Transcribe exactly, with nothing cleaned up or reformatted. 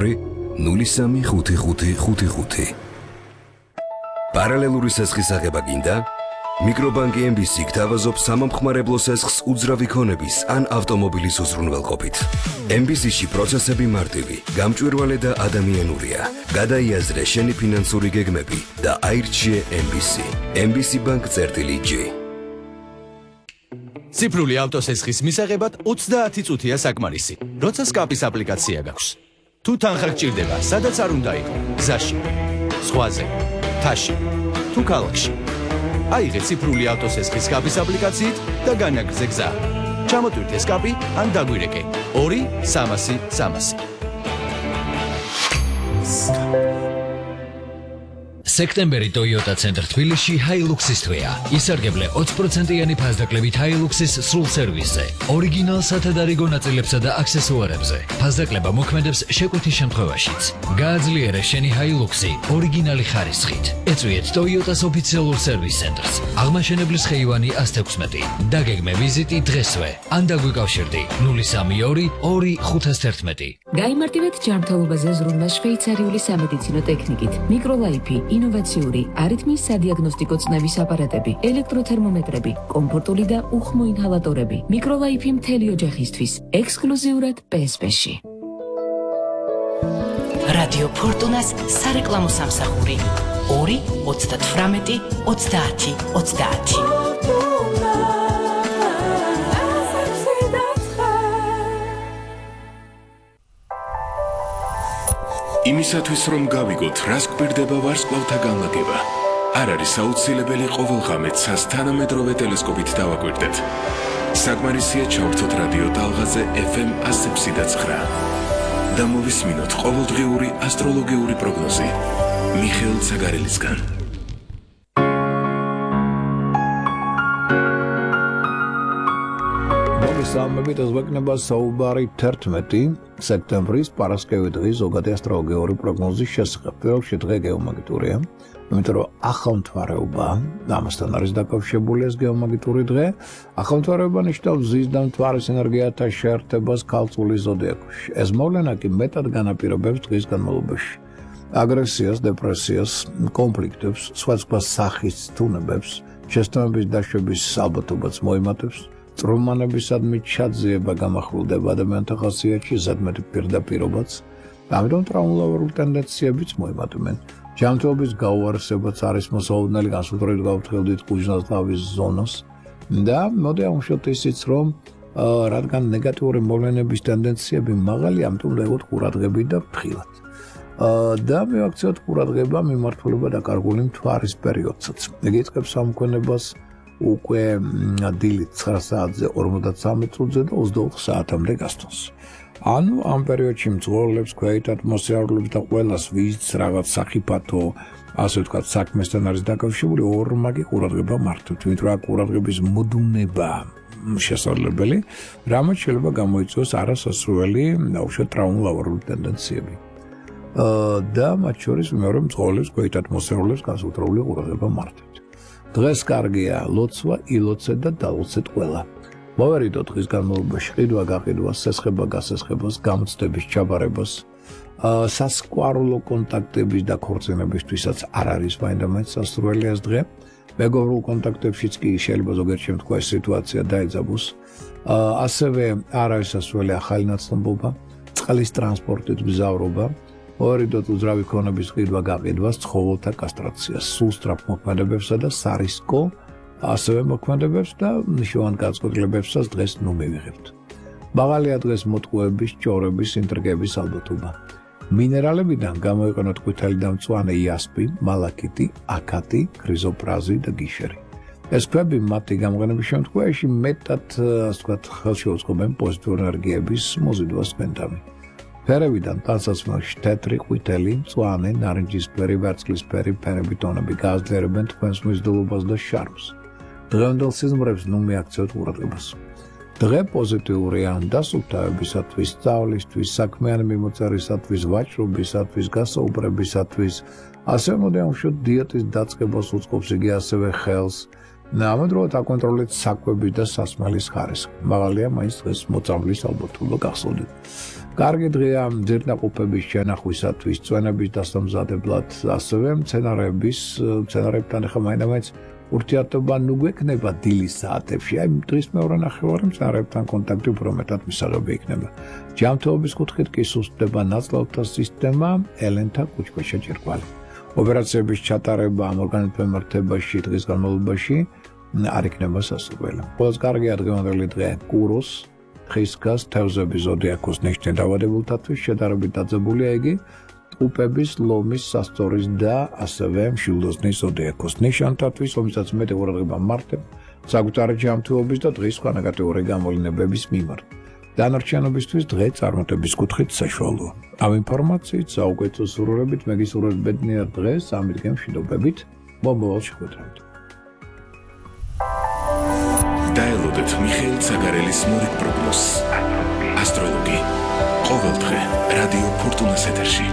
ნომერი ნული სამი ხუთი ხუთი ხუთი ხუთი. პარალელური სესხის აღება გინდა? მიკრობანკი ემ ბი სი გთავაზობს სამომხმარებლო სესხს უძრავი ქონების ან ავტომობილის უზრუნველყოფით. ემ ბი სი-ში პროცესები მარტივი, გამჭვირვალე და ადამიანურია. გადაიაზრე შენი ფინანსური გეგმები და აირჩიე ემ ბი სი. ემ ბი სი ბანკ წერტილი ჯი. ციფრული ავტოსესხის მისაღებად ოცდაათი წუთია საკმარისი, როცა სკაპის აპლიკაცია გაქვს. თუ თანხა გჭირდება, სადაც არ უნდა იყო, გზაში, ზღვაზე, მთაში, თუ ქალაქში. აიღე ციფრული ავტოსესხის სკაპის აპლიკაციით და განაგრძე გზა. ჩამოტვირთე სკაპი ან დაგვირეკე ორი სამასი სამასი. სექტემბერი Toyota Center თბილისში Hilux-ის თვეა. ისარგებლე ოცი პროცენტიანი ფასდაკლებით Hilux-ის სრულ სერვისზე, ორიგინალ სათადარიგო ნაწილებსა და აქსესუარებზე. ფასდაკლება მოქმედებს შეკვეთის შემთხვევაშიც. გააძლიერე შენი Hilux-ი ორიგინალი ხარისხით. ეწვიეთ Toyota-s ოფიციალურ სერვის ცენტრს. აღმაშენებლის ხეივანი ათს ათექვსმეტი. დაგეგმე ვიზიტი დღესვე. ან დაგვიკავშირდი ნული სამი ორი ორი ხუთას თერთმეტი. გაიმარტივეთ ჯანმრთელობაზე ზრუნვა შვეიცარიული სამედიცინო ტექნიკით. მიკროლაიფი ინოვაციური არითმიის სადიაგნოსტიკო წნევის აპარატები, ელექტროთერმომეტრები, კომფორტული და უხმო ინჰალატორები. მიკროლაიფი მთელი ოჯახისთვის, ექსკლუზიურად პე ეს პე-ში. რადიო ფორტუნას სარეკლამო სამსახური ორი ოცდათვრამეტი ოცდაათი ოცდაათი. იმისათვის რომ გავიგოთ, რას გვირდება ვარსკვლავთა განლაგება, არ არის აუცილებელი ყოველ ღამეს თანამედროვე ტელესკოპით დავაკვირდეთ. საკმარისია ჩავრთოთ რადიო ტალღაზე ეფ ემ ათს ექვსი და ცხრა. და მოვისმინოთ ყოველდღიური ასტროლოგიური პროგნოზი მიხეილ ცაგარელისგან. მოგესალმებით, ეს ვეკნება საუბარი თერთმეტი სექტემბრის პარასკევი დღის ზოგადი ასტროლოგიური პროგნოზის შესახებ. პირველში დღე გეომაგიტურია, იმიტომ რომ ახალმთვარეობა ამასთან არის დაკავშირებული ეს გეომაგიტური დღე. ახალმთვარეობა ნიშნავს ზის და მთვარის ენერგიათა შეერთებას ქალწულის ზოდიაქოში. ეს მოვლენა კი მეტად განაპირობებს დღის განმავლობაში აგრესიას, დეპრესიას, კონფლიქტებს, სხვადასხვა სახის თუნებებს, შეცდომების დაშვების ალბათობაც მოიმატებს. წრომანებისადმი ჩაძიება გამახვილდება ადამიანთა ხასიათში, ზედმეტი პირდაპირობაც, ამიტომ ტრაუმულოვერული ტენდენციებიც მოიმატებენ. ჯანმრთელობის გაუარესებაც არის მოსაოდნელი, განსაკუთრებით გავფრთხილდით კუჟნას-ტავის ზონას და მოდი ავუშვათ ისიც, რომ რადგან ნეგატიური მოვლენების ტენდენციები მაღალი, ამიტომ დაიღოთ ყურადღებით და ფრთხილად. და მივაქციოთ ყურადღება მიმართულება დაკარგული მთვარის პერიოდსაც. იგი იწყებს სამქონებას უკვე დილით ცხრა საათზე ორმოცდასამი წუთზე და ოცდაოთხ საათამდე გასცემს. ანუ ამ პერიოდში მძღოლებს, ქვეით ატმოსფერულებს და ყველას ვიზს რაღაც სახიფათო, ასე ვთქვათ, საქმესთან არის დაკავშირებული, ორმაგი ყურადღება მართვით, იმიტომ რომ ყურადღების მოდუნება შესაძლებელი, რამაც შეიძლება გამოიწვიოს არასასურველი, დაუშვათ ტრაუმულოვერული ტენდენციები. და მათ შორის მეორე მძღოლებს, ქვეით ატმოსფერულებს განსაკუთრებული ყურადღება მართვით. დღეს კარგია ლოცვა, ილოცეთ და დალოცეთ ყველა. მოვერიდოთ დღის განმავლობაში ყიდვა გაყიდვას, სესხება გასესხებას, გამოცდების ჩაბარებას, სასკვარულო კონტაქტების და ქორწინებისთვისაც არ არის მაინდამაინც სასურველი ეს დღე. მეგობრულ კონტაქტებშიც კი შეიძლება ზოგიერთ შემთხვევაში სიტუაცია დაეძაბოს. ასევე არ არის სასურველი ახალი ნაცნობობა, წყლის ტრანსპორტით მგზავრობა. მოვერიდოთ უძრავი ქონების ყიდვა გაყიდვას, ცხოველთა კასტრაციას, სულ სწრაფ მოქმედებებსა და სარისკო ასევე მოქმედებებს და მნიშვნელოვან განწყობლებებსაც დღეს ნუ მივიღებთ. მაღალია დღეს მოტყუების, ჭორების, ინტრიგების ალბათობა. მინერალებიდან გამოიყენოთ ყვითელი და მწვანე იასპი, მალაკიტი, აკატი, ქრიზოპრაზი და გიშერი. ეს ქვები მათი გამოყენების შემთხვევაში მეტად, ასე ვთქვათ, ხელშეუწყობენ პოზიტიური ენერგიების მოზიდვას გვენდამი. ფერებიდან ტანსაცმელში თეთრი, ყვითელი, მწვანე, ნარინჯისფერი, ვერცხლისფერი ფერები ტონები გააძლიერებენ თქვენს მიზიდულობას და შარმს. დღევანდელ სიზმრებს ნუ მიაქცევთ ყურადღებას. დღე პოზიტიურია დასუფთავებისათვის, სწავლისთვის, საქმიანი მიმოწერისათვის, ვაჭრობისათვის, გასაუბრებისათვის, ასევე მოდი ავუშვათ დიეტის დაწყებას უწყობს იგი ასევე ხელს. ამავდროულად აკონტროლეთ საკვების და სასმელის ხარისხი. მაღალია მაინც დღეს მოწამვლის ალბათობა გახსოვდეთ. კარგი დღეა ძირნაყოფების შენახვისათვის, წვენების დასამზადებლად, ასევე მცენარეების, მცენარეებთან ახლა მაინც ურთიერთობა ნუ გვექნება დილის საათებში. აი დღის მეორე ნახევარი მცენარეებთან კონტაქტი უფრო მეტად მისაღები იქნება. ჯანმრთელობის კუთხით კი სუსტდება ნაწლავთა სისტემა, ელენთა კუჭქვეშა ჭირკვალი. ოპერაციების ჩატარება ამ ორგანიზმის მიმართებაში დღის განმავლობაში არ იქნება სასურველი. ყველაზე კარგია დღევანდელი დღე კუროს, ხისგას, თევზების ზოდიაქოს ნიშნე დაავადებულთათვის შედარებით დაძაბულია იგი ტყუპების, ლომის, სასწორის და ასევე მშვილდოსნის ზოდიაქოს ნიშანთათვის, რომელსაც მეტი ყურადღება მართებ საკუთარი ჯანმრთელობის და დღის სხვა ნეგატიური გამოვლინებების მიმართ. დანარჩენობისთვის დღე წარმატების კუთხით საშუალოა. ამ ინფორმაციით საუკეთესო სურვილებით მე გისურვებ ბედნიერ დღეს, ამით მშვიდობებით, მომავალ შეხვედრამდე. დაელოდეთ მიხეილ ცაგარელის მორიგ პროგნოზს. ასტროლოგი. ყოველდღე რადიო ფორტუნას ეთერში.